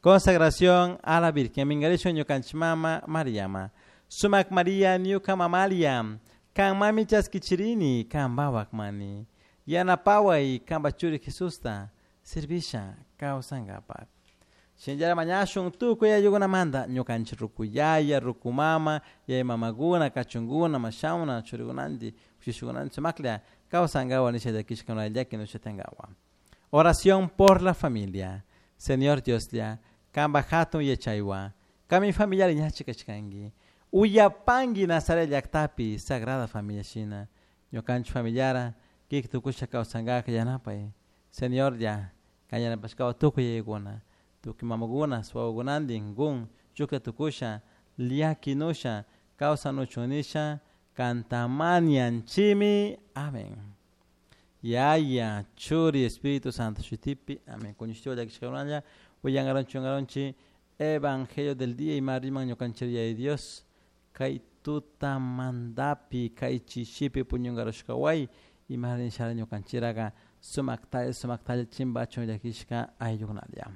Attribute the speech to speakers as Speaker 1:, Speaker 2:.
Speaker 1: Consagración a la Virgen. Mingarishun ñukanchik mama Mariama. Sumak Maria ñuka mamalia. Kan mami chaskichirini, kan bawak mani. Yanapaway kanpa churi Jesusta servisha kawsankapak. Shinallara mañashun tukuy ayllukunamanta ñukanchik rukuyaya, rukumama, yaya mamakuna, kachunkuna, mashawna, churikunanti, kushishkunanti sumaklla kawsankawa nisha llakishka llaki nushatankawa. Oración por la familia. Señor Dioslla, kanpa hatun yachaywan, kami familiar ñachi kashkanki. Uyapanki Nazaret llaktapi Sagrada Familia shina. Ñukanchik familiara kik tukusha kawsankaka yanapay. Señorlla, kan yanapashkawa tukuy yayakuna, tukuy mamakuna, wawakunantin kun chuklla tukusha, llakinusha, kawsanuchun nisha, kantamanianchimi. Amén. Yaya, Churi, Espíritu Santo, shutipi. Amén. Kuñushtiwa llakishkakunalla, uyangaronchi, ungaronchi, Evangelio del día y mariman ñukanchik de Dios, kay tutamandapi, kay chishipi puñungarushkaway, imarin shara ñukanchiraga sumaktalla, sumaktalla chimbachun llakishka ayllukunalla.